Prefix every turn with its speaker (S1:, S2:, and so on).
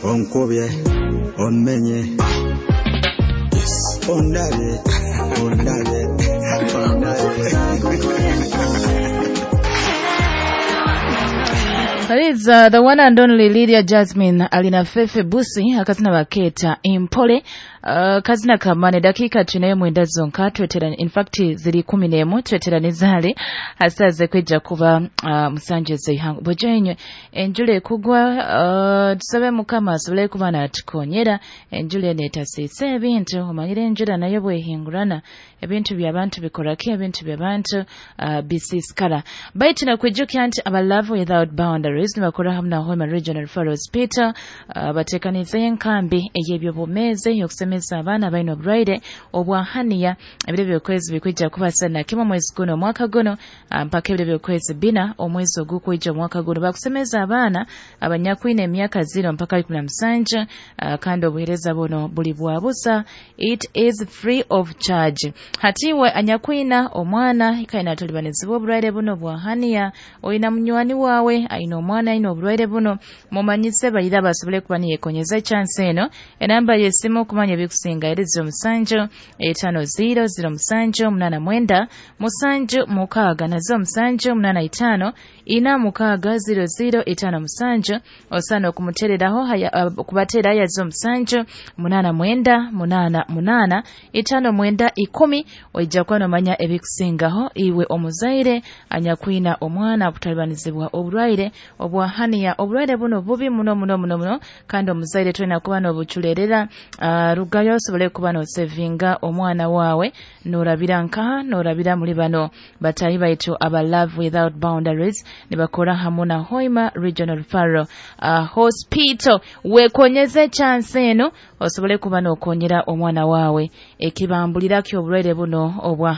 S1: Onkubye, omenye, ondabye, ondabye, ondabye.
S2: That is the one and only Lydia Jasmine alina Fefe Busi akazina baketa Impole, kazina kamane. Dakika tunayo mwenda zonka twetera, in fact ziri 11 twetera nizale hasaze kwijja kuba musanje zeihangu bojenywe enjule kugwa. Tusabe Mukama asobole kuba natukonyera enjule netasiisa ebintu. Omanyire enjura nayo bwehingurana ebintu by'abantu bikoraki, ebintu by'abantu bisisikara. Baitu nakwijukya nti aba Love Without Boundaries nibakora hamu na Hoima Regional Referral Hospital, batekanize enkambi ey'ebyobwomeezi ey'okusemeza abaana abalina oburwaire obwa haniya. Ebiro by'okwezi bikwija kuba 31 omwezi guno omwaka guno, mpaka ebiro by'okwezi 4 omwezi ogukwija omwaka guno. Bakusemeza abaana abanyakwine emyaka 0 mpaka 17, kandi obuheereza buno buli bwa busa, it is free of charge. Hatiwe anyakwina omwana ikaina atolibanizibwa oburwaire buno bwa haniya, oyina munywani wawe ayina omwana ayina oburwaire buno, mumanyise bayira basobole kuba niyekonyeza chance eno. Enamba y'essimu okumanya ebikusinga eri 07 50 07 89 76 na 07 85 46 00 57. Osaana okumutereraho okubateera ya 07 89 88 59 10. Oija kuba nomanya ebikusingaho iwe omuzaire anyakwina omwana akutalibanizibwa oburwaire obwa haniya. Oburwaire buno bubi muno muno muno muno, kandi omuzaire tulina kuba n'obuculerera. Rugayo osobole kuba nosevinga omwana wawe, norabira nkaha, norabira muri bano batayi baitu aba Love Without Boundaries nibakora hamu na Hoima Regional Referral Hospital. Wekonyeze chance eno osobole kuba nokonyera omwana wawe ekibambulira ky'oburwaire buno obwa